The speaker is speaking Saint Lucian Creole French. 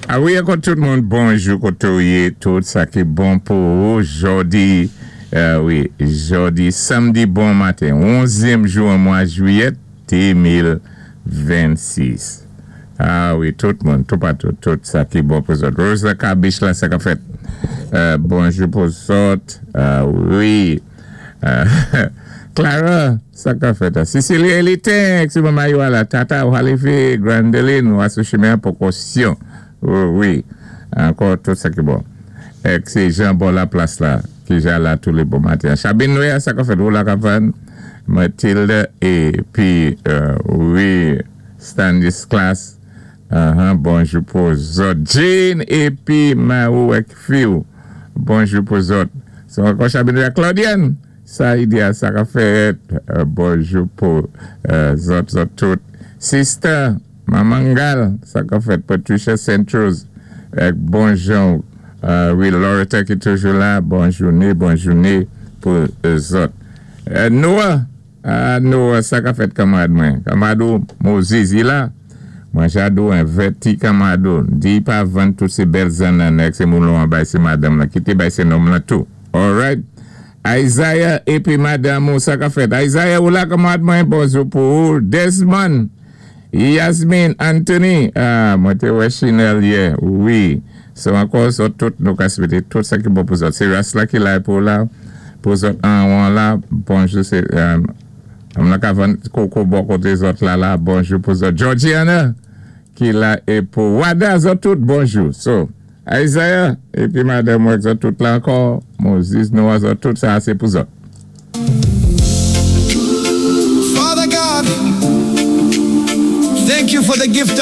A wi, ankò tout moun, bonjou koté ou yé, tout sa ki bon pou ou. Jòdi, wi, jòdi, sanmdi bon maten, 11èm jou an mwa jwiyèt 2026. A wi, tout moun, tout patou, tout sa ki bon pou zòt. Rose la Kabich la, sa ka fèt. Bonjou pou zòt. A wi. Clara, sa ka fèt. Cecilia Elite, si maman yo la, Tata, ou Halifi, Grandeline, ou sou chimen pwokosyon. Wi, ankò tout sa ki bon. Èk sé Jean bon la plas la, ki ja la tou lé bon maten. Chabine Noya, sa ka fèt, ou la kavan, Mathilde, épi, wi, Stanislas, bonjou pou zòt. Jane, épi, Marou èk Fiou, bonjou pou zòt. So, ankò Chabine Noya, Claudiane, sa idéal, sa ka fèt, bonjou pou zòt, zòt tout. Sister, Mamangal, sa ka fèt, Patricia Centros, èk bonjou, wi, Loretta ki toujou la, bonjouné, bonjouné pou zòt. Noah, ah, Noah, sa ka fèt kanmarad mwen. Kanmarad ou, Moses, i la. Mwen jadou envèti kanmarad ou. Di pa vann tout sé bèl zannan èk sé moulon an bay sé madanm la. Kité bay sé nonm la tou. Alright. Isaiah épi madanm ou, sa ka fèt. Isaiah ou la kanmarad mwen, bonjou pou ou. Desmond, Yasmine, Anthony, ah, mwen té wè Chanel yè, wi. So ankò zòt tout nou ka swété tout sa ki bon pou zòt. Sé ras la ki la pou la, pou zòt an wan la, bonjou sé, am la ka vann koko bò koté zòt la la, bonjou pou zòt. Georgiana, ki la é pou Wada, zòt tout, bonjou. So, Isaiah, épi madanm wè zòt tout la ankò, Moses, Noah, zòt tout, sa sé pou zòt. Father God, thank you for the gift